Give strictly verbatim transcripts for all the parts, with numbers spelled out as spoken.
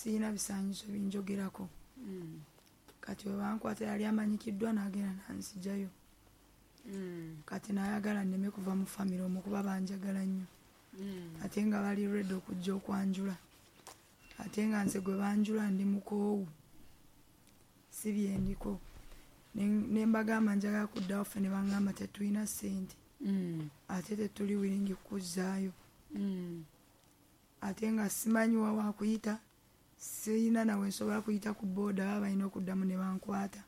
Siina bisaanyizo binjogerako. Mm. Kati we bankwata yali amanyikiddwa n'agenda n'anziggyayo. Mm. Kati n'ayagala nneme kuva mu famire omwo kuba banjagala nnyo. Mm. Ate nga bali ready okujja okwanjula. Ate nga nze gwe banjula ndi mukoowu. Si bye ndiko. Ne mbagamba njagala kuddawo ffe ne bangamba tetulina ssente. Mm. Ate tetuli willing kuzzaayo. Mm. Ate nga simanyi wa wakuyita. Sirina nawe nsobola kuyita ku booda baba balina okuddamu ne bankwata.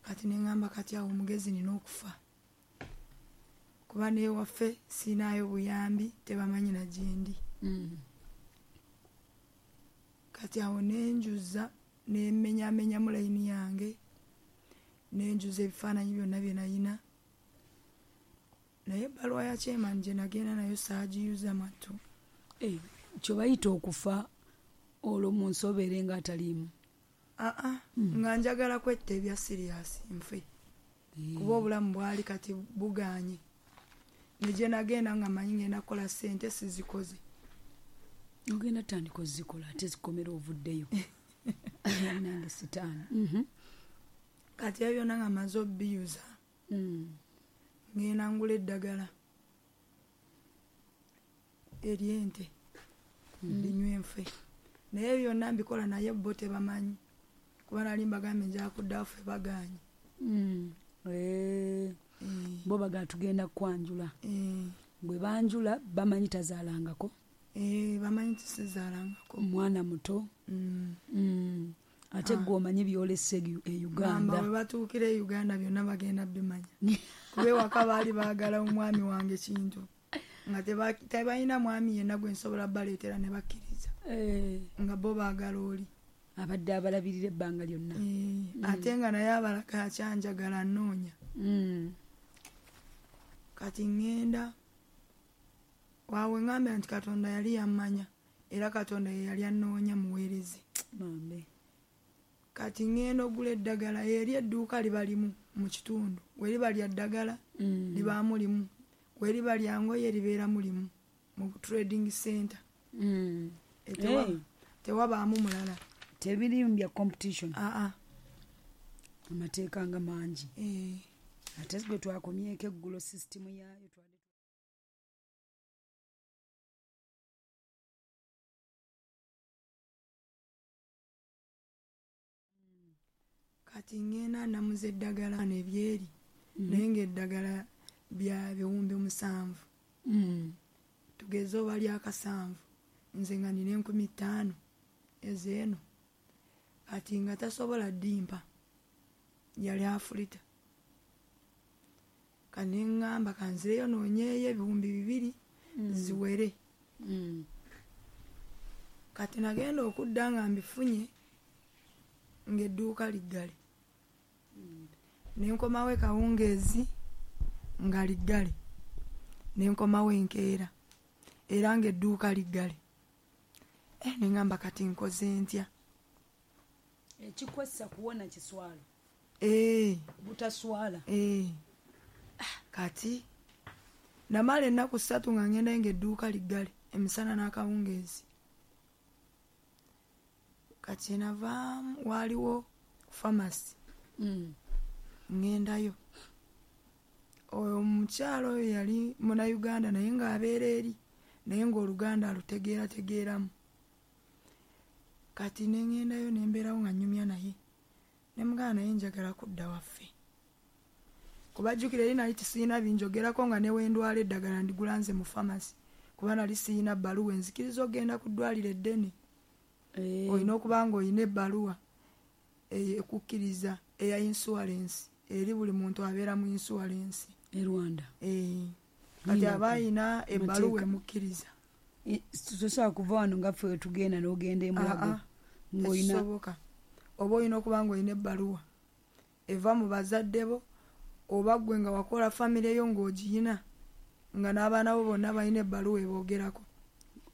Kati ne ŋŋamba kati awo omugezi nina okufa. Kuba n'ewaffe siinaayo buyambi tebamanyi na gye ndi. Mm. Kati awo ne njuza ne mmenyamenyamu layini yange ne njuza ebifaananyi byonna bye nayina. Naye ebbaluwa ya chairman gye nagenda nayo saagiyuza mwattu. Eh, kye bayita okufa olwo mu nsi obeere ng'ataliimu. Aa, mm. Nga njagala kwetta ebya serious nfe. Mm. Kuba obulamu bwali kati bugaanye. Ne gye nagenda nga mmanyi ngenda kukola ssente sizikoze. Ogenda tandika ozikola ate zikomera ovuddeyo. Nange sitaani. Mm-hmm. Kati ebyo byonna nga mmaze obbiyuza. Mm. Ngenda ngula eddagala ery'ente. Ndinywe nfe. Naye byonna mbikola naye bo tebamanyi. Kuba nali mbagambye nja kuddawo ffe bagaanye. Mm. Eh. Bo bagala tugenda kwanjula. Eh. Bwe banjula bamanyi tazaalangako. Eh, bamanyi tisizaalangako. Omwana muto. Mm. Mm. Ate gwe omanyi byolese e Uganda. Gamba bwe batuukira e Uganda byonna bagenda bimanya. Kuba ewaka baali baagala omwami wange kintu. Nga tebalina mwami yenna gwe nsobola baleetera ne bakkiriza. Eh. Nga bo baagala oli. Abadde abalabirira ebbanga lyonna. Eh. Mm. Ate nga naye abalaka akyanjagala annoonya. Mm. Kati ŋŋenda waawe ŋŋambye nti Katonda yali yammanya era Katonda ye yali annoonya muweereze. Mambe. Kati ŋŋenda ogula eddagala eri edduuka liba limu mu kitundu. We liba lya ddagala mm. libaamu limu. We liba lya ngoye libeeramu limu mu trading center. Mm. E tewa, hey. Tewabaamu mulala. Tebirimu bya competition. Aa. Amateeka nga mangi. Eh. Ate gwe twakomyeko eggulo system yaayo twali Kati ŋŋenda namuza eddagala n'ebyeri. Mm. Naye ng'eddagala bya biwumbi musanvu. Mm. Tugeze oba lyakasanvu. Nze nga nina enkumi ttaano ez'eno. Kati nga tasobola ddimpa. Yali afulita. Kati ne ŋŋamba kanzireyo noonyeeyo ebiwumbi bibiri mm. ziwere. Mm. Kati nagenda okudda nga mbifunye ng'edduuka liggale. Mm. Ne nkomawo e Kawungeezi nga liggale. Ne nkomawo enkeera era ng'edduuka liggale. Eh, ne ŋŋamba kati nkoze ntya? Ekikwessa kuwona kiswalo. Eh. Butaswala. Eh. Kati namala ennaku ssatu nga ŋŋenda ng'edduuka liggale emisana n'akawungeezi. Kati navaamu waaliwo pharmacy. Mm. Ŋŋendayo. Oyo omukyala oyo yali Munnayuganda naye ng'abeera eri naye ng'Oluganda alutegeerategeeramu. Kati ne ŋŋendayo ne mbeerawo nga nnyumya naye. Ne mugamba naye njagala kudda waffe. Kuba jjukira eri nali tisiina binjogerako nga ne we ndwala eddagala ndigula nze mu pharmacy. Kuba nali siyina bbaluwa enzikiriza okugenda ku ddwaliro eddene. Eh. Olina okuba ng'olina ebbaluwa ekukkiriza eya insurance eri buli muntu abeera mu insurance. E Rwanda. Eh. Kati aba ayina ebbaluwa emukkiriza. Tosobola kuva wano nga ffe tugenda n'ogenda e Mulago. Ng'olina tekisoboka. Oba olina okuba ng'olina ebbaluwa eva mu bazadde bo oba ggwe nga wakola famire yo ng'ogiyina nga n'abaana bo bonna balina ebbaluwa eboogerako.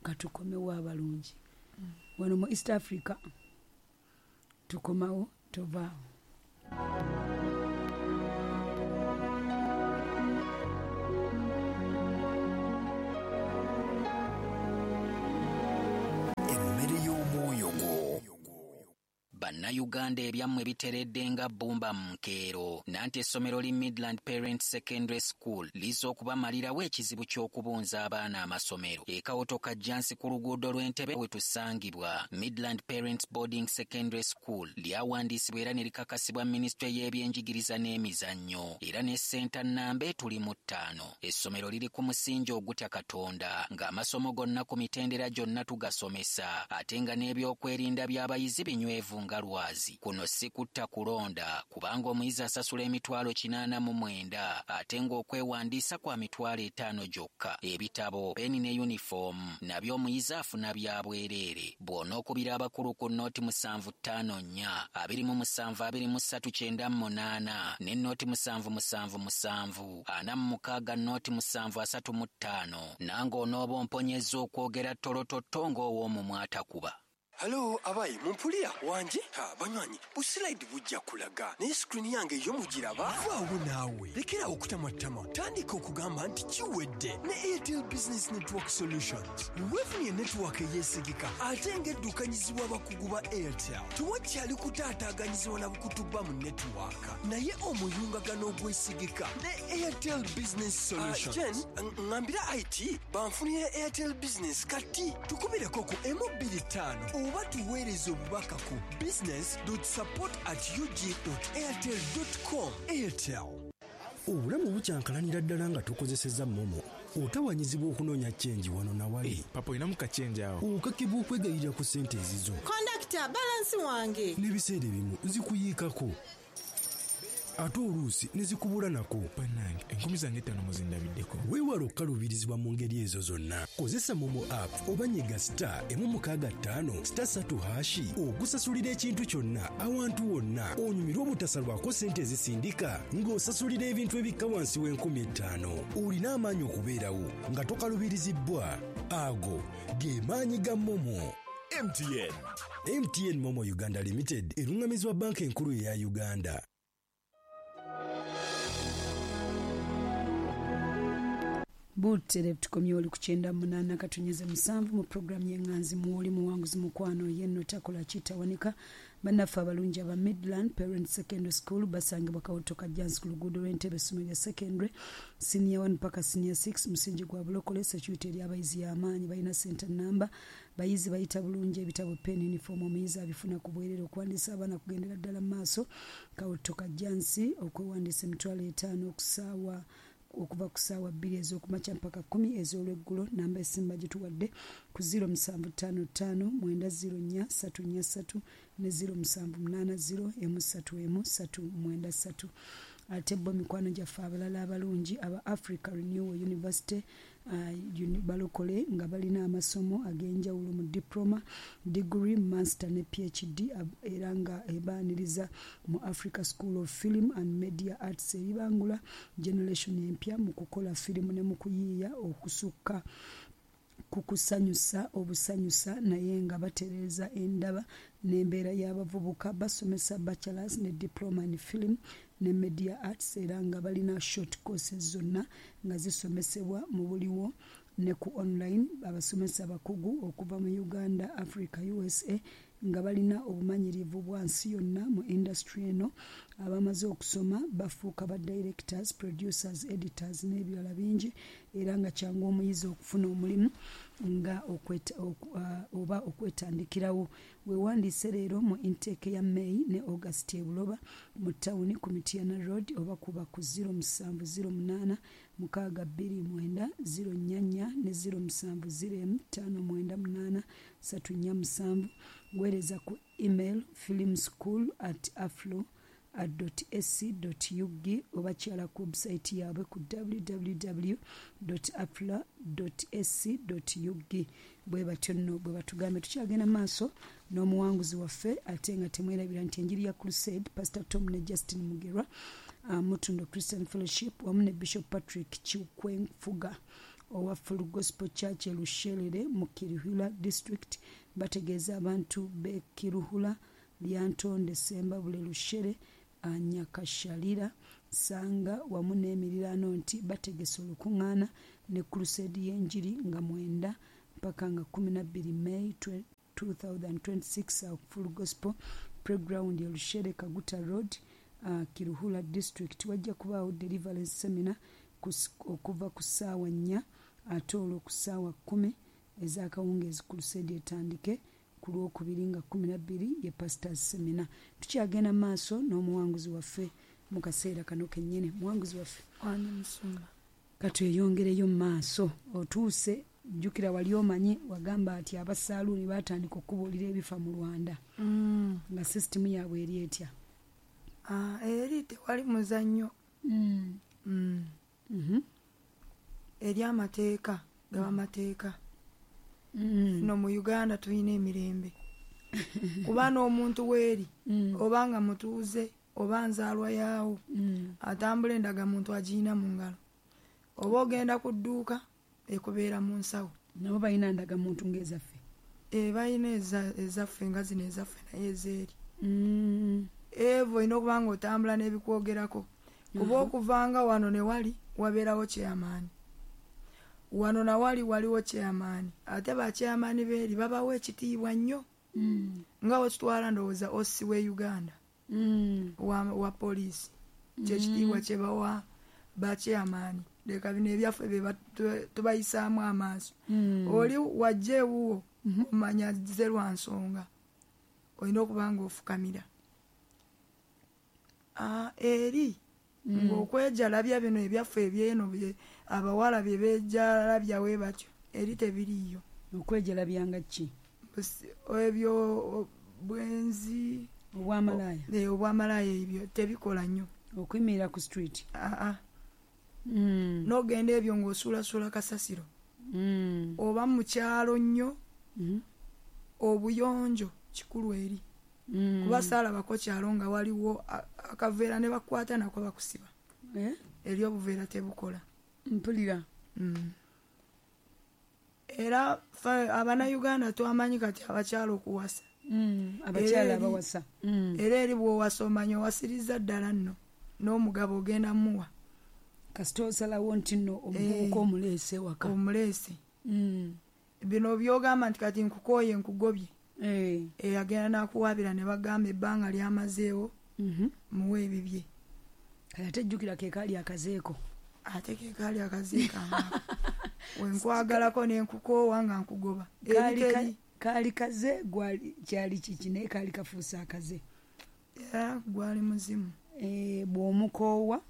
Katukomewo abalungi. Wano mu East Africa tukomawo tovaawo. Bannayuganda ebyammwe biteredde nga bbumba mu nkeero. Nanti essomero li Midland Parent Secondary School lizza okubamalirawo ekizibu ky'okubunza abaana amasomero. E Kawoto Kajjansi ku luguudo lw'Entebe we tusangibwa. Midland Parents Boarding Secondary School lyawandiisibwa era ne likakasibwa minisitule y'ebyenjigiriza n'emizannyo era ne ssenta nnamba etuli mu ttaano. Essomero liri ku musingi ogutya Katonda ng'amasomo gonna ku mitendera gyonna tugasomesa ate nga n'ebyokwerinda by'abayizi binywevu nga lwazi. Kuno si kutta kulonda kubanga omuyizi asasula emitwalo kinaana mu mwenda ate ng'okwewandiisa kwa mitwalo etaano gyokka. Ebitabo, peni ne yunifoomu nabyo omuyizi afuna bya bwereere. Bw'onookubira abakulu ku nnooti musanvu ttaano nnya abiri mu musanvu abiri mu ssatu kyenda mu munaana ne nnooti musanvu musanvu musanvu ana mu mukaaga nnooti musanvu asatu mu ttaano nange onooba omponyezza okwogera ttolototto ng'ow'omumwa atakuba. Halo abayi mumpulira wanje ha banywanyi buslide bujja kulaga naye screen yange yo mugiraba. Vaawo naawe lekera okutamatama, tandika okugamba nti kiwedde ne Airtel Business Network Solutions. Wefunye network eyeesigika ate ng'eddukanyizibwa abakugu ba Airtel. Tewakyali kutaataaganyizibwa na bukutuba mu network naye omuyungagano ogwesigika ne Airtel Business Solutions. Uh, Jen, ŋŋambira I T banfunire Airtel Business kati tukubireko ku emu bbiri ttaano oba tuweereze obubaka ku business dot support at u g dot airtel dot com. Airtel. Obulamu bukyankalanira ddala nga tukozesezza MoMo. Otawanyizibwa okunoonya chenji wano na wali. Hey, papa olinamu kachenji awo. Okakibwa okwegayirira ku ssente ezizo. Kondakita, balansi wange. N'ebiseera ebimu zikuyiikako. Ate oluusi ne zikubula nako. Bannange, enkumi zange ttaano muzindabiddeko. Weewale okukaluubirizibwa mu ngeri ezo zonna. Kozesa MoMo app oba nyiga star emu mukaaga ttaano star ssatu hashi okusasulira ekintu kyonna awantu wonna onyumirwe obutasalwako ssente ezisindika ng'osasulira ebintu ebikka wansi w'enkumi ettaano. Olina amaanyi okubeerawo nga tokaluubirizibbwa. Ago ge maanyi ga MoMo. M T N. M T N MoMo Uganda Limited eruŋŋamizibwa Banka Enkulu eya Uganda. Butere tukomye oli kuchenda munana katunyeze musanvu mu programu y'enganzi muwoli muwanguzi mukwano yenno takola kitawanika. Bannaffe abalungi aba Midland Parent Secondary School basangibwa Kawoto Kajjansi ku luguudo lw'Entebe essomero lya secondary senior one paka senior six musingi gwa bulokole. Security eri abayizi y'amaanyi, balina center number, bayizi bayita bulungi ebitabo, pen, uniform omuyizi abifuna ku bwerere. Okuwandiisa abaana kugendera ddala mu maaso. Kawoto Kajjansi okwewandiisa emitwalo etaano okusaawa okuva ku ssaawa bbiri ez'okumakya mpaka kkumi ez'olweggulo. Namba esimba gye tuwadde ku ziro musanvu ttaano ttaano mwenda ziro nnya ssatu nnya ssatu ne ziro musanvu munaana ziro emu ssatu emu ssatu mwenda ssatu. Ate bo mikwano gyaffe abalala abalungi aba Africa Renewal University uh, balokole nga balina amasomo ag'enjawulo mu diploma, degree, master ne P H D era nga ebaaniriza mu Africa School of Film and Media Arts ebibangula generation empya mu kukola firimu ne mu kuyiiya okusukka ku kusanyusa obusanyusa naye nga batereeza endaba n'embeera y'abavubuka. Basomesa bachelors ne diploma in film ne media arts era nga balina short courses zonna nga zisomesebwa mu buliwo ne ku online. Abasomesa abakugu okuva mu Uganda, Africa, U S A nga balina obumanyirivu bwa nsi yonna mu industry eno. Abamaze okusoma bafuuka ba directors, producers, editors n'ebirala bingi era nga kyangu omuyizi okufuna omulimu nga okweta, oku, uh, oba okwetandikirawo. Weewandiise leero mu intake ya May ne August e Buloba mu tawuni ku Mityana Road oba kuba ku ziro musanvu ziro munaana mukaaga bbiri mwenda ziro nnya nnya ne ziro musanvu ziro emu ttaano mwenda munaana ssatu nnya musanvu. Weereza ku email filmschool at aflo dot a c dot u g oba kyala ku website yaabwe ku w w w dot afla dot a c dot u g. Bwe batyo nno bwe batugambye. Tukyagenda maaso n'omuwanguzi waffe ate nga temwerabira nti enjiri ya Crusade Pastor Tom ne Justin Mugerwa, uh, Mutundo Christian Fellowship wamu ne Bishop Patrick Chikwenfuga owa Full Gospel Church e Lushelere mu Kiruhura District bategeeza abantu b'e Kiruhura, Lyantonde, Sembabule, Lushere, Nyakashalira, Sanga wamu n'emiriraano nti bategese olukuŋŋaana ne Crusade y'enjiri nga mwenda mpaka nga kkumi na bbiri May two thousand twenty-six Full Gospel Playground e Rushere Kaguta Road, uh, Kiruhura District. Wajja kubaawo deliverance seminar okuva ku ssaawa nnya ate olwo ku ssaawa kkumi ez'akawungeezi crusade etandike ku lwokubiri nga kkumi na bbiri ye pastors seminar. Tukyagenda maaso n'omuwanguzi waffe mu kaseera kano kennyini. Muwanguzi waffe wani musumba, katweyongereyo mu maaso. Otuuse, jjukira wali omanyi wagamba ati abasaaluuni baatandika okubuulira ebifa mu Rwanda. Mm. Nga sisitimu yaabwe eri etya? Ah, eri tewali muzannyo. Mm. Mm. Mm-hmm. Eri amateeka gaba mateeka. Mm. No mu Uganda tulina emirembe. Kuba n'omuntu weeri mm. oba nga mutuuze oba nzaalwa yaawo mm. atambula endagamuntu agiyina mu ngalo, oba ogenda ku dduuka ekubeera mu nsawo. Nabo balina ndagamuntu ng'ezaffe? E, balina ezaffe nga zino ezaffe naye ezeeri. Mm. Evo olina okuba nga otambula n'ebikwogerako, kuba okuvanga wano ne wali wabeerawo chairman, wano nawali waliwo chairman, ate ba chairman beeri babawa ekitiibwa nnyo. Mm. Nga wekitwala ndowooza Ossi we Uganda mm. wa, wa poliisi kyekitiibwa mm. kye bawa ba chairman. Leka bino ebyaffe bye tubayisaamu amaaso. Mm. Oli wajja ewuwo mm -hmm. omanya ze lwa nsonga olina okuba nga ofukamira. Ah, eri mm. ng'okwejalabya bino ebyaffe ebyeno abawala bye beejalabya we batyo eri tebiriiyo. Okwejalabyanga ki? Ebyo bwenzi, obwamalaaya. Eh, obwamalaaya ebyo tebikola nnyo. Okuyimirira ku street? Aa. Mm. N'ogenda ebyo ng'osuulasuula kasasiro. Mm. Oba mu kyalo nnyo, mm. obuyonjo kikulu eri. Mm. Kuba saalabako kyalo nga waliwo akaveera ne bakwata nako bakusiba. Eh? Eri obuveera tebukola. Mpulira. Mm. Era Abannayuganda twamanyi kati abakyala okuwasa. Mm. Abakyala abawasa. Mm. Era eri bw'owasa omanya owasiriza ddala nno n'omugabo ogenda muwa. Kasita osalawo nti nno omuvubuka omuleese waka. Omuleese. Mm. Bino by'ogamba nti kati nkukooye nkugobye. Eh. E, agenda n'akuwaabira ne bagamba ebbanga lyamazeewo mm -hmm. muwe ebibye. Kale ate jjukira ke kaali akazeeko. Ate ke kaali akazeeko amako. Wenkwagalako ne nkukoowa nga nkugoba. Kaali kaali kaze gwali kyali kiki naye kaali kafuuse akaze. Era gwali muzimu. Eh, bw'omukoowa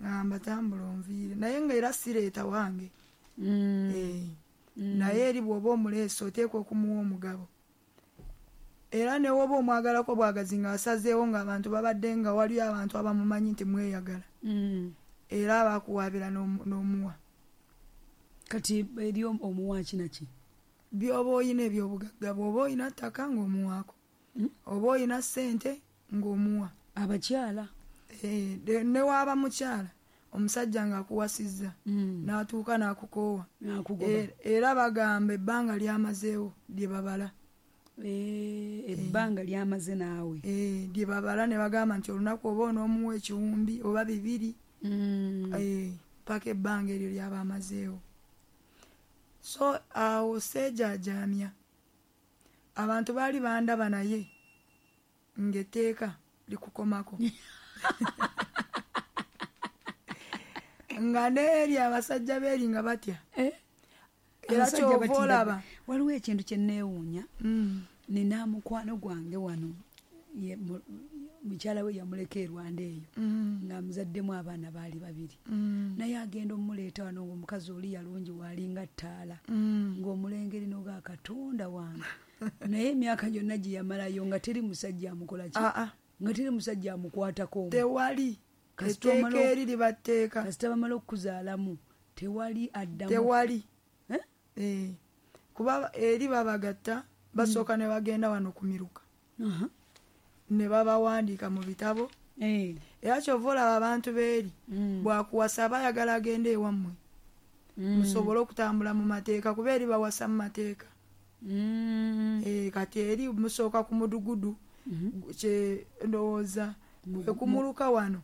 ngamba tambula onviire naye nga era sireeta wange. Mm. Eh. Mm. Naye eri bw'oba omuleese oteekwa okumuwa omugabo. Era ne woba omwagalako bwagazi ng'asazeewo ng'abantu babadde nga waliyo abantu abamumanyi nti mweyagala. Mm. Era abakuwaabira n'omuwa. Kati eri omuwa ki na ki? By'oba oyina ebyobugagga, bw'oba oyina ttaka ng'omuwaako. Mm. Oba oyina ssente ng'omuwa. Abakyala? Eh, ne waaba mukyala omusajja ng'akuwasizza mm. n'atuuka n'akukoowa. N'akugoba. E, era bagamba ebbanga lyamazeewo lye babala. Ebbanga lyamaze naawe. Eh, lye babala ne bagamba nti olunaku oba onoomuwa ekiwumbi oba bibiri. Mm. Eh, paka ebbanga eryo lyaba amazeewo. So awo seejaajaamya. Abantu baali bandaba naye ng'etteeka likukomako. Nga n'eri abasajja beeri nga batya. Eh? Era ky'ova olaba. Waliwo ekintu kye neewuunya. Mm. Nina mukwano gwange wano mukyala we yamuleka e Rwanda eyo mm. nga muzaddemu abaana baali babiri. Mm. Naye agenda omuleeta wano ng'omukazi oli yalungi waalinga ttaala mm. ng'omulengeri n'oga Katonda wange. Naye emyaka gyonna gye yamalayo nga teri musajja amukola ki? Ah, ah. Nga teri musajja amukwatako. Tewali. Etteeka eri libatteeka. Kasita bamala okuzaalamu tewali addamu. Tewali. Eh? Eh. Kuba eri babagatta basooka mm. ne bagenda wano ku miruka. Uh -huh. Ne babawandiika mu bitabo. Eh. Era ky'ova olaba abantu beeri mm. bw'akuwasa aba ayagala agende ewammwe. Mm. Musobole okutambula mu mateeka kuba eri bawasa mu mateeka. Mm. Eh, kati eri musooka ku mudugudu mm -hmm. kye ndowooza ekumuluka wano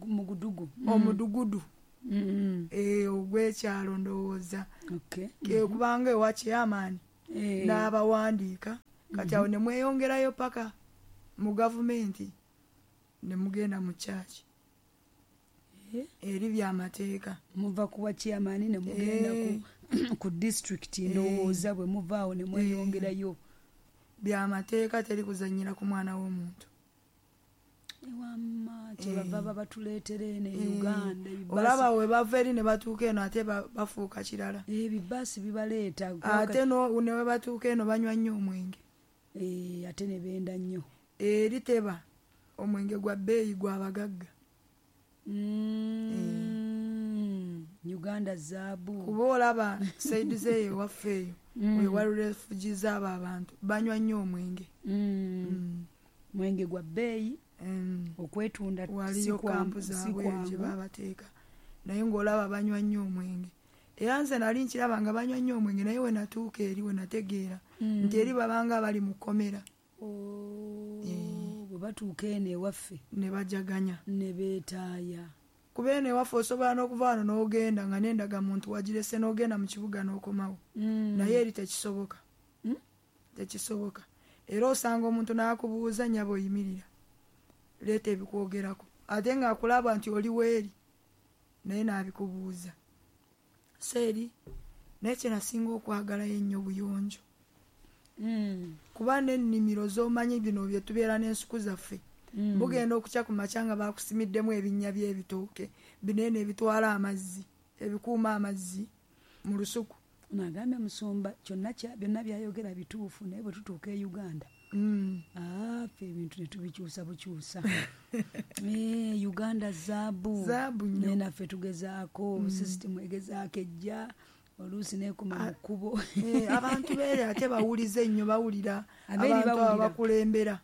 mugudugu omudugudu mm. eh, ogw'ekyalo ndowooza. Okay. Ke kubanga ewa chairman eh. n'abawandiika kati awo ne mweyongerayo paka Mu gavumenti ne mugenda mu church. Eri byamateeka. Muva kuwa chairman ne mugenda ku ku district ndowooza bwe muvaawo ne mweyongerayo. Byamateeka teri kuzannyira ku mwana w'omuntu. Ewamma kyebava babatuleetera eno e Uganda. Olaba we bava eri ne batuuka eno ate bafuuka kirala. Ebibaasi bibaleeta. Ate ne we batuuka eno banywa nnyo omwenge. Ate ne benda nnyo. Eri teba omwenge gwa bbeeyi gw'abagagga. Uganda zaabu. Kuba olaba saidi zeeyo ewaffe eyo we wali refugees abo abantu banywa nnyo omwenge. Mwenge gwa bbeeyi. Okwetunda waliyo kampu zaabwe gye babateeka naye ng'olaba banywa nnyo omwenge. Era nze nali nkiraba nga banywa nnyo omwenge naye we natuuka eri we nategeera nti eri babanga bali mu kkomera. Bwe batuuka eno ewaffe ne bajaganya ne beetaaya. Kuba eno ewaffe osobola n'okuva wano n'ogenda nga n'endagamuntu wagirese n'ogenda mu kibuga n'okomawo. Naye eri tekisoboka. Tekisoboka. Era osanga omuntu n'akubuuza nnyabo oyimirira. Leeta ebikwogerako ate ng'akulaba nti oli weeri naye n'abikubuuza. So eri naye kye nasinga okwagalayo ennyo buyonjo. Kuba n'ennimiro z'omanyi bino bye tubeera n'ensuku zaffe bugenda okukya ku makya nga bakusimiddemu ebinnya by'ebitooke binene ebitwala amazzi ebikuuma amazzi mu lusuku. Nagambye musumba kyonna byonna byayogera bituufu naye bwe tutuuka e Uganda ffe ebintu ne tubikyusa bukyusa. Uganda zaabu. Zaabu nnyo. Naye naffe tugezaako sisitimu egezaako ejja oluusi n'ekoma mu kkubo. Abantu beere ate bawulize nnyo bawulira abantu abo bakulembera.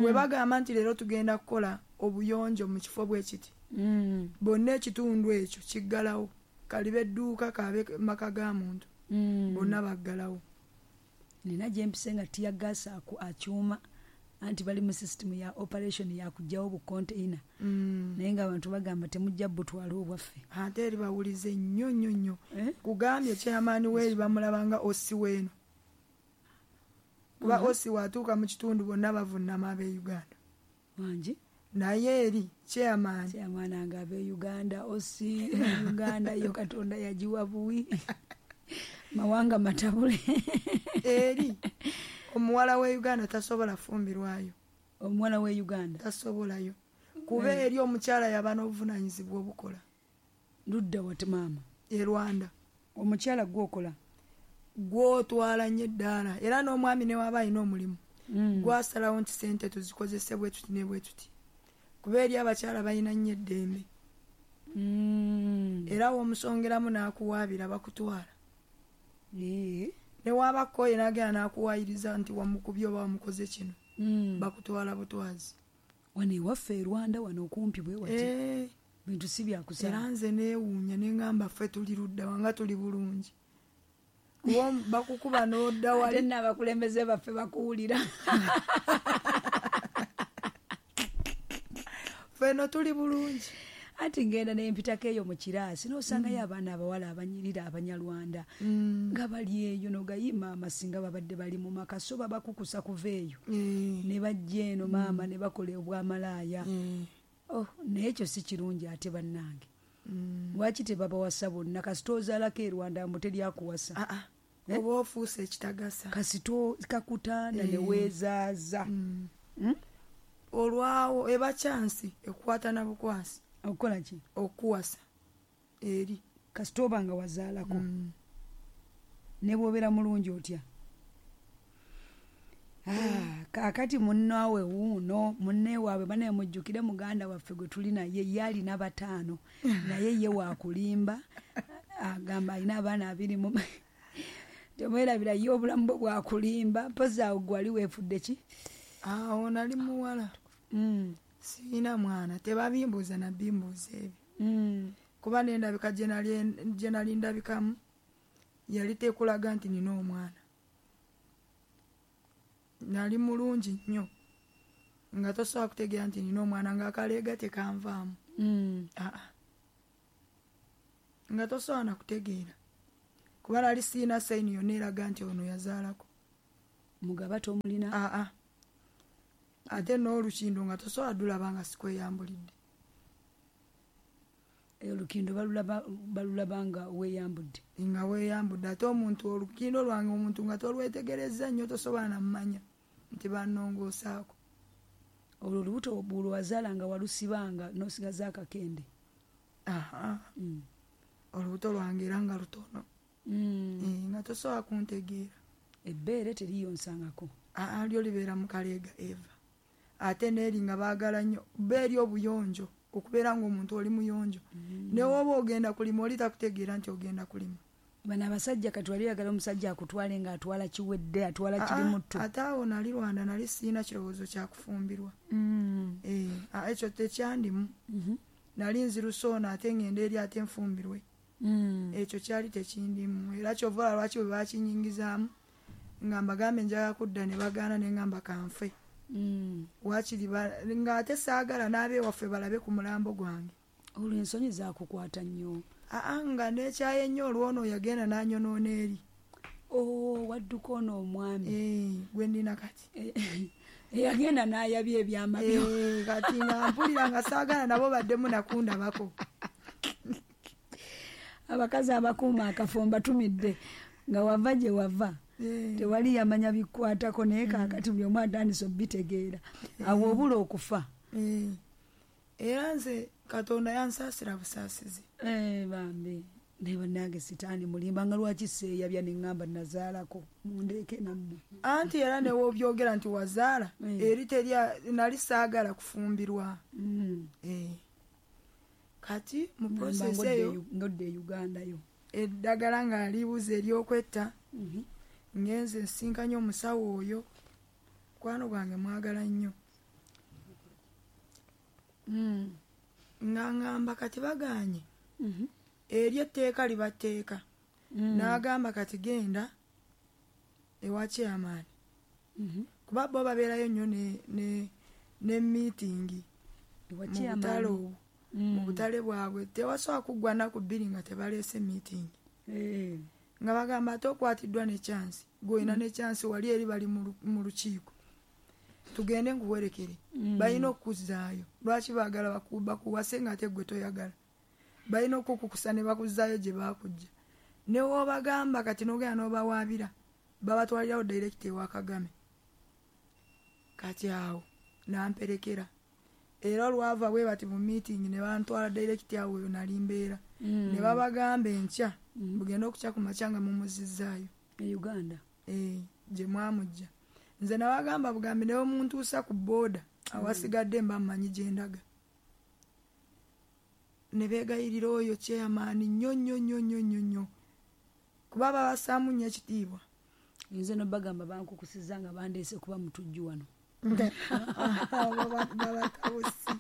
Bwe bagamba nti leero tugenda kukola obuyonjo mu kifo bwe kiti bonna ekitundu ekyo kiggalawo. Kalibe edduuka kabe maka ga muntu bonna baggalawo. Nina gye mpise nga tear gas akyuma anti bali mu system ya operation ya kujjawo bu container. Naye ng'abantu bagamba temujja butwala obwaffe. Ate eri bawulize nnyo nnyo nnyo. Kugambye chairman w'eri bamulabanga osi w'eno. Kuba osi watuuka mu kitundu bonna bavunnama ab'e Uganda. Wangi? Naye eri chairman. Chairman nga ab'e Uganda osi Uganda yo Katonda yagiwa buwi. Mawanga matabule. Eri omuwala we Uganda tasobola fumbirwayo. Omuwala we Uganda tasobolayo. Kuba eri omukyala yaba n'obuvunaanyizibwa obukola. Ludda wati maama? E Rwanda. Omukyala gw'okola? Gw'otwala nnyo eddaala era n'omwami ne waba alina omulimu gwasalawo nti ssente tuzikozese bwe tuti ne bwe tuti. Kuba eri abakyala balina nnyo eddembe. Era w'omusongeramu n'akuwaabira bakutwala. Ne waba akooye n'agenda n'akuwaayiriza nti wamukubye oba wamukoze kino bakutwala butwazi. Wano ewaffe e Rwanda wano okumpi bwe wati bintu si byakusala. Era nze neewuunya ne ŋŋamba ffe tuli ludda wa nga tuli bulungi. Kuba bakukuba n'odda wali. Ate nno abakulembeze baffe bakuwulira. Ffe nno tuli bulungi. Ati ngenda nempitako eyo mu kiraasi n'osangayo abaana abawala abanyirira abanyarwanda nga bali eyo n'ogayima maama singa babadde bali mu maka so babakukusa kuva eyo ne bajja eno maama ne bakola obwamalaaya. Oh, naye ekyo si kirungi ate bannange. Lwaki tebabawasa bonna? Kasita ozaalako e Rwanda mbu teri akuwasa. Oba ofuuse ekitagasa. Kasita kakutanda ne weezaaza. Olwawo eba kyansi ekukwata na bukwasi. Okukola ki? Okuwasa eri. Kasita oba nga wazaalako. Ne bw'obeera mulungi otya? Ah, kaakati munnaawe wuuno munne waabwe banaye mujjukire muganda waffe gwe tuli naye ye alina bataano naye ye waakulimba agamba alina abaana abiri mu temwerabira ye obulamu bwe bwakulimba mpozi awo gwe wali weefudde ki? Awo nali muwala. Sirina mwana tebabimbuuza nabimbuuza ebyo. Kuba n'endabika gye nali ndabikamu yali tekulaga nti nina omwana. Nali mulungi nnyo nga tosobola kutegeera nti nina omwana ng'akaleega tekanvaamu. Nga tosobola na kutegeera kuba nali sirina sayini yonna eraga nti ono yazaalako. Mugaba tomulina? Aa. Ate n'olukindo nga tosobola dulaba nga sikweyambulidde. Olukindo balulaba balulaba nga weeyambudde. Nga weeyambudde ate omuntu olukindo lwange omuntu nga tolwetegerezza nnyo tosobola nammanya nti bannongoosaako. Olwo olubuto lwazaala nga walusibanga n'osigaza akakende. Aha. Mm. Olubuto lwange era nga lutono. Mm. E, nga tosobola kuntegeera. Ebbeere teriyonsangako. Aa, lyo libeera mu kaleega Eva. Ate n'eri nga baagala nnyo bbeeri obuyonjo okubeera ng'omuntu oli muyonjo. Mm. Ne woba ogenda kulima oli takutegeera nti ogenda kulima. Bano abasajja kati wali oyagala omusajja akutwale ng'atwala kiwedde, atwala kiri mutto. Ate awo nali Rwanda nali sirina kirowoozo kya kufumbirwa. Mm. Eh, ekyo tekyandimu. Mm-hmm. Nali nzirusa ono ate ngende eri ate nfumbirwe. Mm. Ekyo kyali tekindimu. Era kyova olaba lwaki bwe bakinyingizaamu nga mbagambe njagala kudda ne bagaana ne ngamba kanfe. Mm. Waakiri ng'ate saagala n'abeewaffe balabe ku mulambo gwange. Olwo ensonyi zaakukwata nnyo. Aa, nga neekyaye nnyo olwono yagenda n'anyonoona eri. Oh, wadduka ono omwami. Eh, gwe nnina kati. Eyagenda n'ayabya ebyama byo. Eh, kati nga mpulira nga saagala nabo baddemu nakundabako. Abakazi abakuuma akafo mbatumidde nga wava gye wava. Tewali yamanya bikwatako naye kaakati buli omu atandise obitegeera. Awo obula okufa. Era nze Katonda yansaasira busaasizi. Eh, bambi. Naye bannange sitaani mulimba nga lwaki seeyabya ne ŋŋamba nazaalako mundeeke nammwe. Anti era ne w'obyogera nti wazaala eri teri nali saagala kufumbirwa. Eh. Kati mu process eyo ngodde e Uganda yo. Eddagala nga libuze ery'okwetta. Ngenze nsinkanye omusawo oyo. Mukwano gwange mwagala nnyo. Mm. Nga ngamba kati bagaanye. Mm-hmm. Eri etteeka liba tteeka. Mm. N'agamba kati genda ewa chairman. Mm-hmm. Kuba bo babeerayo nnyo ne ne ne meeting. Ewa Mu chairman. butale obwo. Mm. Mu butale bwabwe tewasobola kuggwa nnaku bbiri nga tebaleese meeting. Eh. Nga bagamba ate okwatiddwa ne chance. Gw'olina Mm. ne chance wali eri bali mu lukiiko. Tugende nkuwerekere. Mm. Balina okukuzzaayo. Lwaki baagala bakuwase nga ate gwe toyagala? Balina okukukusa ne bakuzzaayo gye baakujja. Ne w'obagamba kati n'ogenda n'obawaabira babatwalirawo direct ewa Kagame. Kati awo n'amperekera. Era olwava bwe bati mu meeting ne bantwala direct awo eyo nali mbeera. Mm. Ne babagamba enkya Mm. mugende okukya ku makya nga mumuzizzaayo. E Uganda. Eh, gye mwamujja. Nze nabagamba bugambi ne omuntuusa ku booda awasigadde mba mmanyi gye ndaga. Ne beegayirira oyo chairman nnyo nnyo nnyo nnyo nnyo nnyo. Kuba babassaamu nnyo ekitiibwa. Nze no bagamba bankukusizza nga bandeese kuba mutujju wano. Babatawusi.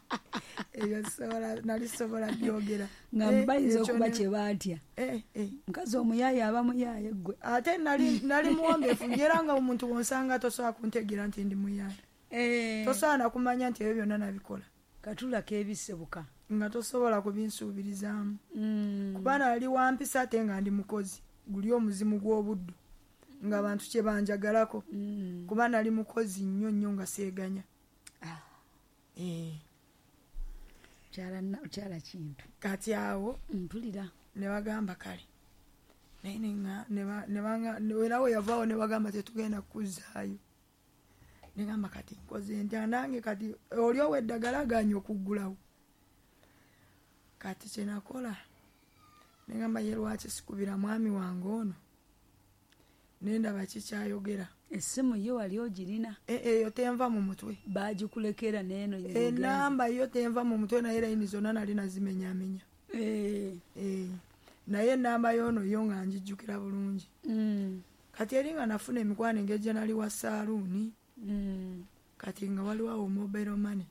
Ebyo sobola nali sobola byogera. Nga bayinza okuba kye baatya. Eh, eh. Mukazi omuyaaye aba muyaaye ggwe. Ate nali nali muwombeefu era nga omuntu wonsanga tosobola kuntegeera nti ndi muyaaye. Eh. Tosobola na kumanya nti ebyo byonna nabikola. Katula keebisebuka. Nga tosobola kubinsuubirizaamu. Mm. Kuba nali wampisa ate nga ndi mukozi. Guli omuzimu gw'obuddu. Nga abantu kye banjagalako. Mm. Kuba nali mukozi nnyo nnyo nga seeganya. Ah. Eh. Kyala kyala kintu. Kati awo mpulira ne bagamba kale. Naye ne ne banga era we yavaawo ne bagamba tetugenda kukuzzaayo. Ne ngamba kati nkoze ntya nange kati oli ow'eddagala agaanye okuggulawo. Kati kye nakola ne ngamba ye lwaki sikubira mwami wange ono. Ne ndaba kikyayogera. Essimu yo wali ogirina? Eyo tenva mu mutwe. Baagikulekera n'eno. Enamba yo tenva mu mutwe naye layini zonna nali nazimenyaamenya. Eh. Eh. Naye enamba y'ono yo nga ngijjukira bulungi. Mm. Kati eri nga nafuna emikwano engeri gye nali wa saaluuni. Mm. Kati nga waliwo awo mobile money.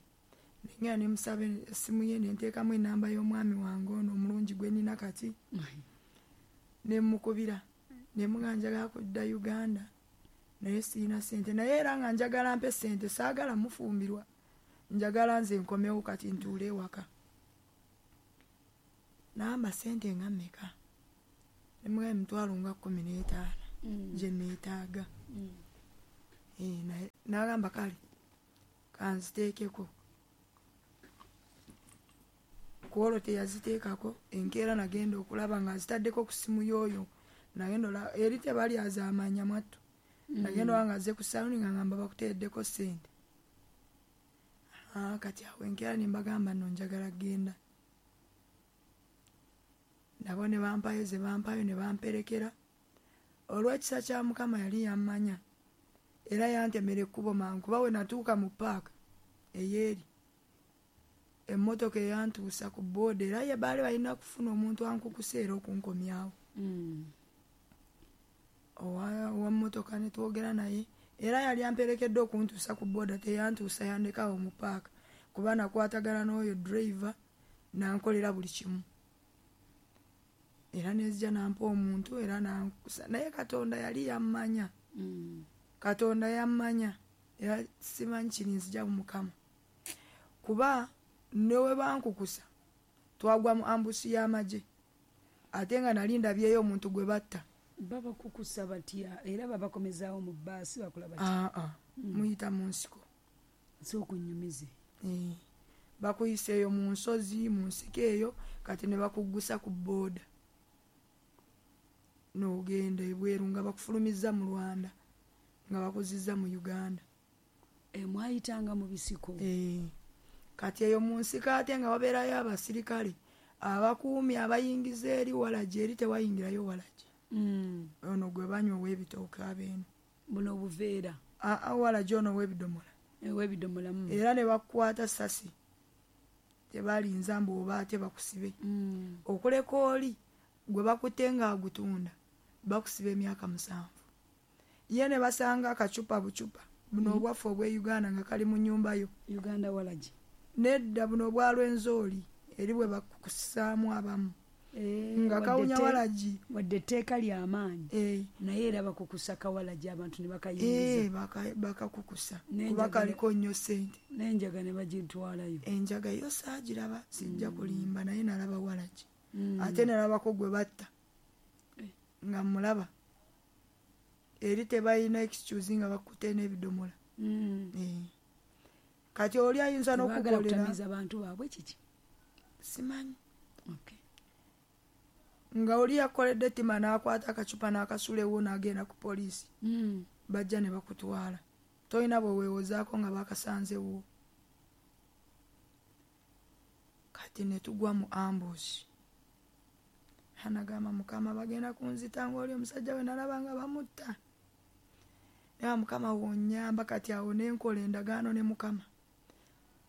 Nengenda ne musaba essimu ye ne nteekamu enamba y'omwami wange ono omulungi gwe nnina kati. Ne mmukubira. Ne mugamba njagala kudda Uganda. Naye sirina ssente. Naye era nga njagala mpe ssente saagala mufumbirwa. Njagala nze nkomewo kati ntuule ewaka. N'amba ssente nga mmeka? Ne mugamba emitwalo nga kkumi n'etaano Mm. gye neetaaga. Mm. Eh, naye n'agamba kale Kanziteekeko. Ku olwo teyaziteekako. Enkeera nagenda okulaba nga azitaddeko ku simu y'oyo. Nagenda ola eri tebali azaamanya mwattu. Nagenda olaba nga azze ku saluni nga ngamba bakuteereddeko ssente. Ah, kati awo enkeera ne mbagamba nno njagala kugenda. Nabo ne bampayo ze bampayo ne bamperekera. Olw'ekisa kya Mukama yali yammanya. Era yantemera ekkubo mangu kuba we natuuka mu paaka ey'eri, emmotoka eyantuusa ku booda era ye baali balina kufuna omuntu ankukusa era okunkomyawo. Mm. Owa owa mmotoka ne twogera naye era yali amperekedde okuntuusa ku booda, teyantuusa, yandekawo mu paaka kuba nakwatagana n'oyo driver n'ankolera buli kimu. Era nenzija n'ampa omuntu era n'ankusa, naye Katonda yali yammanya. Mm. Katonda yammanya era simanyi kirinzija mu Mukama. Kuba ne we bankukusa twagwa mu ambusi y'amagye ate nga nali ndabyeyo omuntu gwe batta. Babakukusa batya era babakomezaawo mu bbaasi bakola batya? Aa, ah, Mm. muyita mu nsiko. Sooka onnyumize. Eh, bakuyisa eyo mu nsozi, mu nsiko eyo, kati ne bakuggusa ku booda. N'ogenda ebweru nga bakufulumizza mu Rwanda, nga bakuzizza mu Uganda. E, mwayitanga mu bisiko. Eh, kati eyo mu nsiko ate nga wabeerayo abasirikale abakuumi abayingiza eri walagi, eri tewayingirayo walagi. Mm. Ono gwe banywa ow'ebitooke abeeno. Buno obuveera. Aa, walagi ono ow'ebidomola. Ow'ebidomola. Mm. Era ne bakukwata ssasi. Tebalinza mbu oba ate bakusibe. Mm. Okuleka oli gwe bakutte ng'agutunda bakusiba emyaka musanvu. Ye ne basanga akacupa bucupa buno Mm. obwaffe obw'e Uganda nga kali mu nnyumba yo. Uganda walagi. Nedda, buno obwa Rwenzori eri bwe bakukusaamu abamu. Eh, nga wadde kawunya te- walagi. Wadde etteeka ly'amaanyi. Eh. Naye era bakukusa kawalagi abantu ne bakayingiza. Eh, baka- bakakukusa N'enjaga kuba ne- kaliko nnyo ssente. N'enjaga ne bagitwalayo. Enjaga yo saagiraba, sijja kulimba, naye nalaba walagi. Mm. Ate nalabako gwe batta. Eh. Nga mmulaba. Eri tebalina excuse nga bakutte n'ebidomola. Mm. Eh. Kati oli ayinza Tebaagala n'okukolera. kutamiiza bantu baabwe kiki? Simanyi. Okay. Nga oli yakoledde ettima n'akwata akacupa n'akasula ewo n'agenda ku poliisi. Mm. Bajja ne bakutwala. Tolina bwe weewozaako nga bakasanzewo. Kati ne tugwa mu ambush. Anagamba Mukama bagenda kunzita ng'oli omusajja we nalaba nga bamutta. Naye Mukama wonnyamba, kati awo ne nkola endagaano ne Mukama.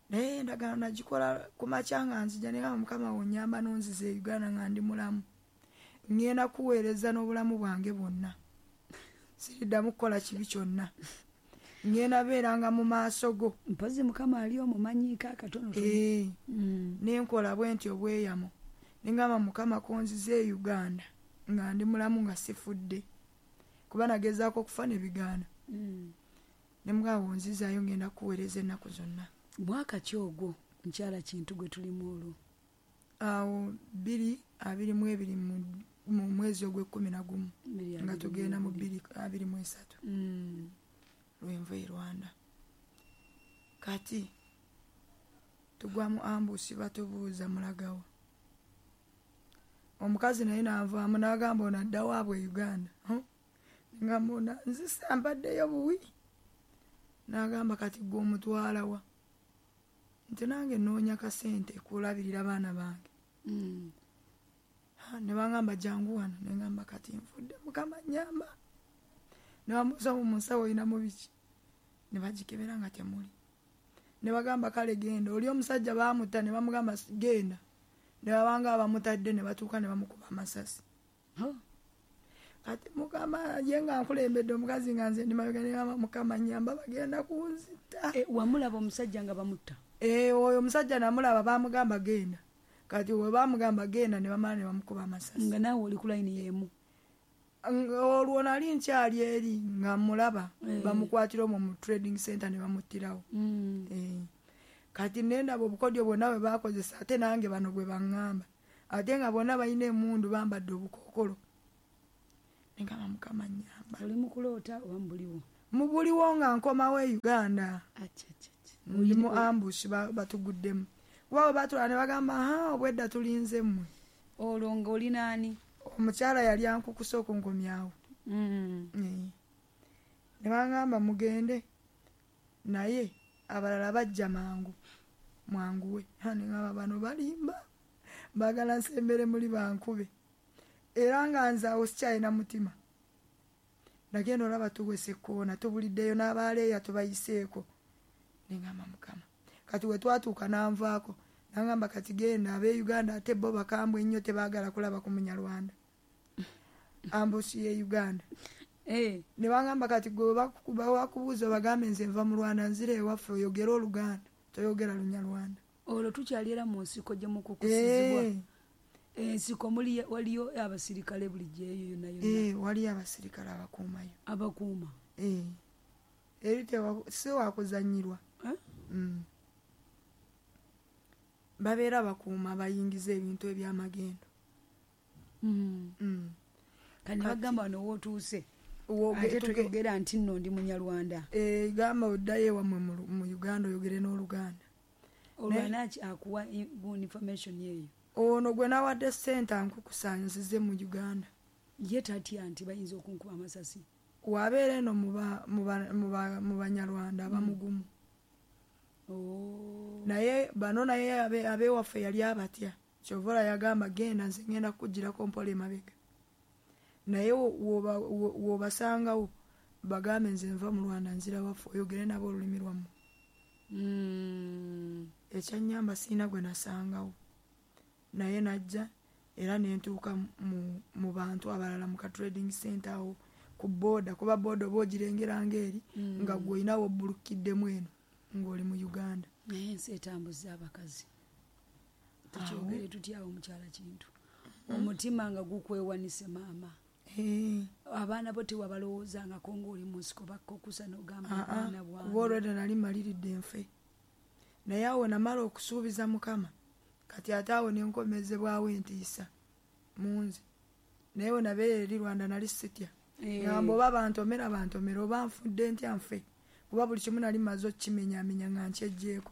Naye endagaano nagikola ku makya nga nzija, ne ngamba Mukama wonnyamba n'onziza e Uganda nga ndi mulamu. Ŋŋenda kuweereza n'obulamu bwange bwonna. Siriddamu kukola kibi kyonna. Ŋŋenda beeranga mu maaso go. Mpozzi Mukama ali omumanyiiko akatonotono. Eh. Mm. Ne nkola bwe ntyo obweyamo. Ne ngamba Mukama konzize e Uganda nga ndi mulamu nga sifudde. Kuba nagezaako okufa ne bigaana. Mm. Ne mugamba wonzizaayo ŋŋenda kuweereza ennaku zonna. Mwaka ki ogwo mukyala Kintu gwe tulimu olwo? Awo bbiri abiri mu ebiri mu, mu mwezi ogw'ekkumi na gumu. Bbiri Nga abiri mu tugenda mu ebiri. bbiri abiri mu esatu. Mm. Lwenva e Rwanda. Kati tugwa mu ambusi batubuuza mulagawa. Omukazi naye n'anvaamu n'agamba ono adda waabwe e Uganda. Huh? Ngamba ono nzisa mpaddeyo buwi. N'agamba kati ggwe omutwala wa? Nti nange nnoonya kasente kulabirira baana bange. Mm. Ha, ne bangamba jangu wano, ne ngamba kati nfudde Mukama nnyamba. Ne bamubuuza mu nsawo oyinamu biki? Ne bagikebera nga temuli. Ne bagamba kale genda. Oli omusajja baamutta ne bamugamba genda. Ne babanga abamutadde ne batuuka ne bamukuba amasasi. Huh? Kati Mukama ye nga nkulembedde omukazi nga nze ndi mabega, ne ngamba Mukama nnyamba bagenda kunzita. E, wamulaba omusajja nga bamutta? Eh, oyo omusajja namulaba baamugamba genda. Kati we baamugamba genda ne bamala ne bamukuba amasasi. Nga naawe oli ku layini y'emu. Olwo nali nkyali eri nga mulaba Eh. bamukwatira omwo mu trading center ne bamuttirawo. Mm. Eh. Kati ne ndaba obukodyo bwonna bwe baakozesa ate nange bano bwe baŋŋamba. Ate nga bonna balina emmundu bambadde obukookolo. Ne ngamba Mukama nnyamba. Oli mu kuloota oba mu buliwo? Mu buliwo nga nkomawo e Uganda. Acha, acha, acha. Ndi mu ambush batuguddemu. Kuba batula ne bagamba ha obwedda tulinze mmwe. Olwo ng'oli naani? Omukyala yali ankukusa okunkomyawo. Mm. Mm. Ne bagamba mugende naye abalala bajja mangu mwanguwe. Ne ngamba bano balimba baagala nsembere muli bankube. Era nga nze awo sikyalina mutima. Nagenda olaba tuwese koona tubuliddeyo n'abaaleeya tubayiseeko. Ne ngamba Mukama. Kati we twatuuka n'anvaako nangamba kati genda ab'e Uganda ate bo bakambwe nnyo tebaagala kulaba ku Munyarwanda. Ambusi ye Uganda. Eh. Ne bangamba kati gwe bakubuuza bagambe nze nva mu Rwanda nzira ewaffe oyogere Oluganda toyogera Lunyarwanda. Olwo tukyali era mu nsiko gye mukukusizibwa. Ensiko muli waliyo abasirikale bulijjo eyo yonna yonna. Eh, waliyo abasirikale abakuumayo. Abakuuma. Eh. Eri si wakuzannyirwa. Eh? Mm. Babeera bakuuma bayingiza ebintu ebyamagendo. Mm. Mm. Kati bagamba wano w'otuuse. Ate toyogera nti nno ndi Munyarwanda. Eh, gamba oddayo ewammwe mu Uganda oyogere n'Oluganda. Olwo anaki akuwa information eyo? Ono gwe nawadde ssente ankukusanzize mu Uganda. Ye tatya nti bayinza okunkuba amasasi. Wabeera eno mu Banyarwanda abamugumu. Oh. Naye bano naye ab'ewaffe yali abatya. Kyova yagamba genda nze ngenda kukugirako mpola emabega. Naye w'obasangawo bagambe nze nva mu Rwanda nzira waffe oyogere nabo olulimi lwammwe. Mm. Ekyannyamba sirina gwe nasangawo. Naye najja era ne ntuuka mu, mu bantu abalala mu ka trading center awo ku boda kuba boda oba ogirengera ng'eri mm. nga gwe olinawo obbulukiddemu eno ng'oli mu Uganda. Naye ensi etambuza abakazi. Tukyogere tutya awo mukyala Kintu. Omutima nga gukwewanise maama. Hey. Abaana bo tewabalowoozangako ng'oli mu nsiko bakkokusa n'ogamba abaana bwange. Kuba olwedda nali maliridde nfe. Naye awo namala okusuubiza Mukama. Kati ate awo ne nkomezebwawo entiisa mu nze. Naye we nabeera eri Rwanda nali sitya. Ngamba oba bantomera bantomera oba nfudde ntya nfe. Kuba buli kimu nali mmaze okkimenyaamenya nga nkyeggyeko.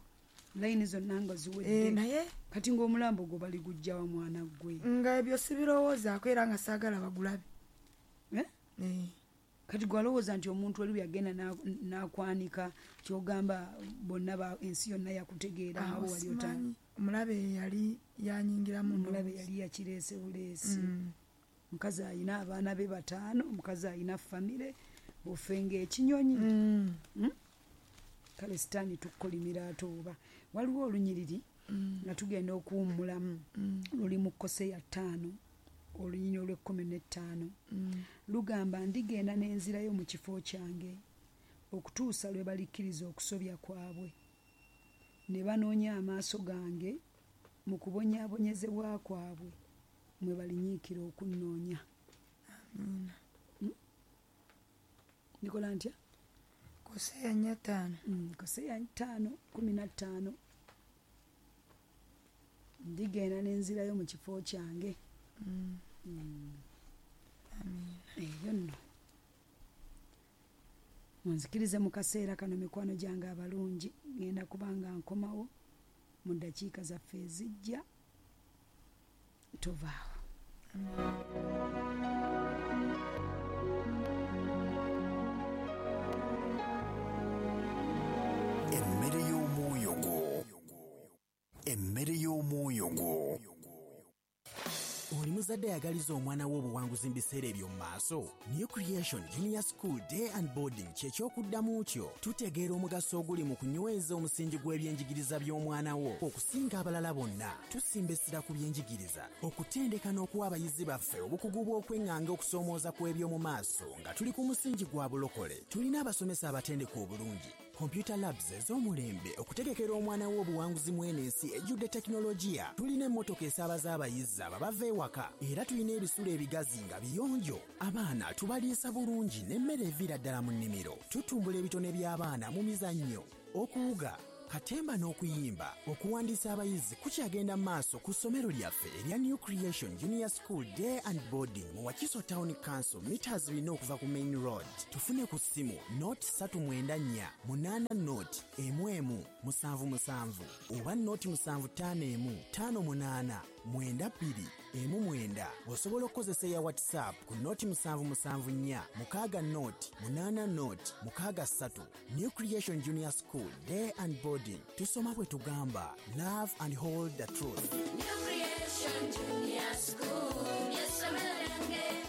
Layini zonna nga ziwedde. Eh, naye kati ng'omulambo gwo baligujja wa mwana gwe. Nga ebyo sibirowoozaako era nga saagala bagulabe. Eh? Eh. Kati gwalowooza nti omuntu oli yagenda n'akwanika ky'ogamba bonna ensi yonna yakutegeera nga wali otaani. Omulabe yali yanyingiramu. Omulabe yali yakireese buleesi. Omukazi alina abaana be bataano, omukazi alina famire, ofe ng'ekinyonyi. Mm. Kale sitaani tukkolimira ate oba. Waliwo olunyiriri nga tugenda okuwummulamu luli mu Koseya ttaano olunyiriri olw'ekkumi n'ettaano. Lugamba ndigenda n'enzirayo mu kifo kyange okutuusa lwe balikkiriza okusobya kwabwe ne banoonya amaaso gange mu kubonyaabonyezebwa kwabwe mwe balinyiikira okunnoonya. Amiina. Ndikola ntya? Koseya nnya ttaano. Koseya ttaano kkumi na ttaano. Ndigenda n'enzirayo mu kifo kyange. Mm. Amiina. Eyo nno. Munzikirize mu kaseera kano mikwano gyange abalungi ngenda kubanga nkomawo mu ddakiika zaffe ezijja tovaawo. Emmere y'omwoyo gwo. Emmere y'omwoyo gwo. Oli muzadde ayagaliza omwana we obuwanguzi mu biseera eby'omu maaso. New Creation Junior School Day and Boarding kye ky'okuddamu kyo. Tutegeera omugaso oguli mu kunyweza omusingi gw'ebyenjigiriza by'omwana wo okusinga abalala bonna. Tusimba essira ku byenjigiriza, okutendeka n'okuwa abayizi baffe obukugu bw'okweŋŋanga okusoomooza kw'eby'omu maaso nga tuli ku musingi gwa bulokole. Tulina abasomesa abatendeka obulungi, computer labs ez'omulembe okutegekera omwana wo obuwanguzi mu eno ensi ejjudde tekinologiya. Tulina emmotoka esaabaza abayizi ababava ewaka era tulina ebisulo ebigazi nga biyonjo. Abaana tubaliisa bulungi n'emmere eviira ddala mu nnimiro. Tutumbula ebitone by'abaana mu mizannyo, okuwuga, Katemba n'okuyimba. Okuwandiisa abayizi kukyagenda mu maaso ku ssomero lyaffe erya New Creation Junior School Day and Boarding mu Wakiso Town Council, meters bina okuva ku main road. Tufune ku ssimu nought ssatu mwenda nnya munaana nought emu emu musanvu musanvu oba nought musanvu ttaano emu ttaano munaana mwenda bbiri emu mwenda. Osobola okukozesa eya WhatsApp ku nought musanvu musanvu nnya mukaaga nought munaana nought mukaaga ssatu. New Creation Junior School Day and Boarding. Tusoma bwe tugamba, love and hold the truth. New Creation Junior School, ly'essomero lyange.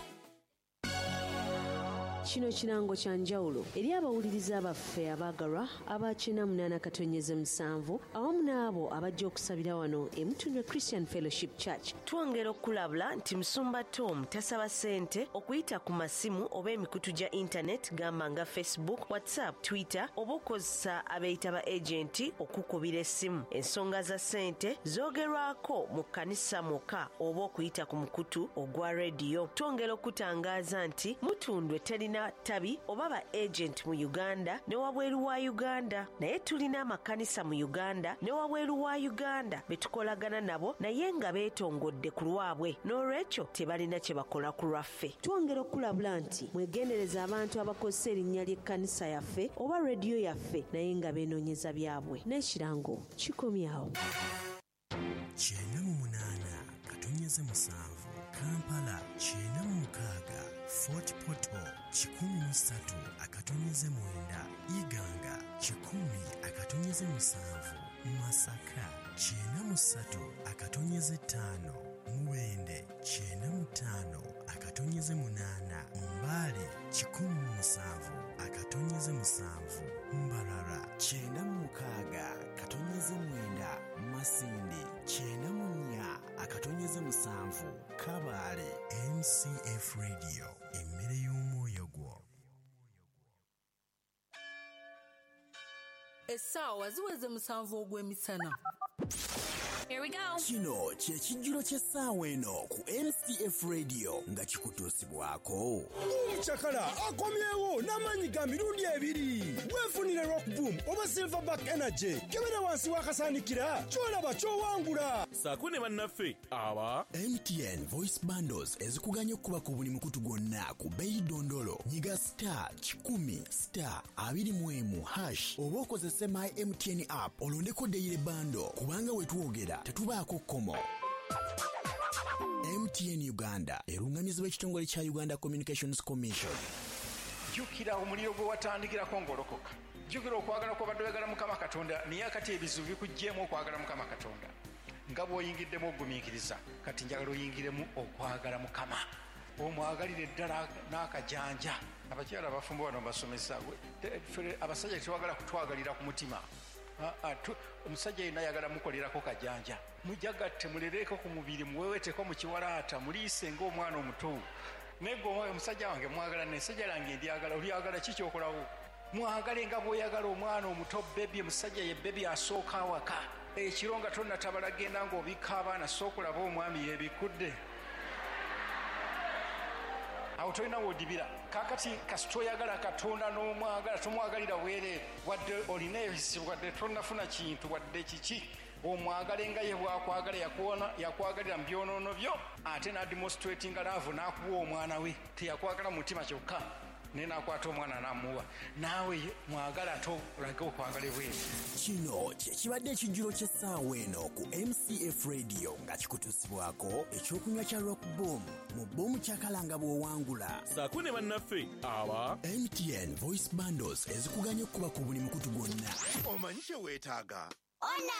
Kino kirango kya njawulo eri abawuliriza baffe abaagalwa aba kyenda munaana katonyeze musanvu awamu n'abo abajja okusabira wano e Mutundwe Christian Fellowship Church. Twongera okulabula nti Musumba Tom tasaba ssente okuyita ku masimu oba emikutu gya internet gamba nga Facebook, WhatsApp, Twitter oba okukozesa abeeyita ba agenti okukubira essimu. Ensonga za ssente zoogerwako mu kkanisa mwokka oba okuyita ku mukutu ogwa rediyo. Twongera okutangaaza nti Mutundwe terina tabi oba ba agent mu Uganda ne wabweru wa Uganda, naye tulina amakanisa mu Uganda ne wabweru wa Uganda betukolagana nabo naye nga beetongodde ku lwabwe, n'olwekyo tebalina kye bakola ku lwaffe. Twongera okulabula nti mwegendereza abantu abakozesa erinnya ly'ekkanisa yaffe oba rediyo yaffe naye nga beenoonyeza byabwe. N'ekirango kikomyawo. Kyenda mu munaana katonyeze musanvu Kampala, kyenda mu mukaaga Fort Portal, kikumi mu ssatu akatonyeze mwenda Iganga, kikumi akatonyeze musanvu Masaka, kyenda mu ssatu akatonyeze ttaano Mubende, kyenda mu ttaano akatonyeze munaana Mbale, kikumi mu musanvu akatonyeze musanvu Mbarara, kyenda mu mukaaga katonyeze mwenda Masindi, kyenda mu nnya akatonyeze musanvu Kabale. M C F Radio, emmere y'omwoyo gwo. Essaawa ziweze musanvu ogw'emisana. Here we go. Kino kye kijjulo ky'essaawa eno ku M C F Radio nga kikutuusibwako. Omucakala akomyewo n'amaanyi ga mirundi ebiri. Weefunire Rock Boom oba Silverback Energy. Kebera wansi w'akasaanikira ky'olaba ky'owangula. Ssaako ne bannaffe aba M T N Voice Bundles ezikuganya okuba ku buli mukutu gwonna ku bbeeyi dondolo. Nyiga star kikumi star abiri mu emu hash oba okozese My M T N app olondeko daily bundle kubanga we twogera tetubaako kkomo. M T N Uganda erungamizibwa ekitongole kya Uganda Communications Commission. Jjukira omuliro gwe watandikirako ng'olokoka. Jjukira okwagala kw'obadde oyagala Mukama Katonda, naye akati ebizibu bikuggyeemu okwagala Mukama Katonda. Nga bw'oyingiddemu ogumiikiriza, kati njagala oyingiremu okwagala Mukama. Omwagalire ddala n'akajanja. Abakyala abafumbo bano mbasomesa, abasajja tebagala kutwagalira ku mutima. Omusajja yenna ayagala mukolerako kajanja. Mujagatte mulereko ku mubiri, muweweteko mu kiwalaata, muliise ng'omwana omuto. Naye gwe omusajja wange mwagala, n'essajja lange ndyagala, olyagala ki ky'okolawo? Mwagale nga bw'oyagala omwana omuto bebi, omusajja ye bebi asooka awaka. Ekiro nga tonnatabala genda ng'obikka abaana, sooka olaba omwami yeebikkudde. Awo tolina w'odibira. Kaakati kasita oyagala Katonda n'omwagala, tomwagalira bwereere. Wadde olina ebizibu, wadde tonnafuna kintu, wadde kiki, omwagale nga ye bw'akwagala, yakuwona, yakwagalira mu byonoono byo, ate n'ademonstratinga love n'akuwa omwana we. Teyakwagala mu mutima kyokka, naye n'akwata omwana n'amuwa. Naawe mwagala ate olage okwagala ebweru. Kino kye kibadde ekijjulo ky'essaawa eno ku M C F Radio nga kikutuusibwako ekyokunywa kya Rock Boom mu Boom Kyakala nga bw'owangula. Ssaako ne bannaffe aba M T N Voice Bundles ezikuganya okuba ku buli mukutu gwonna. Omanyi kye weetaaga? Ona!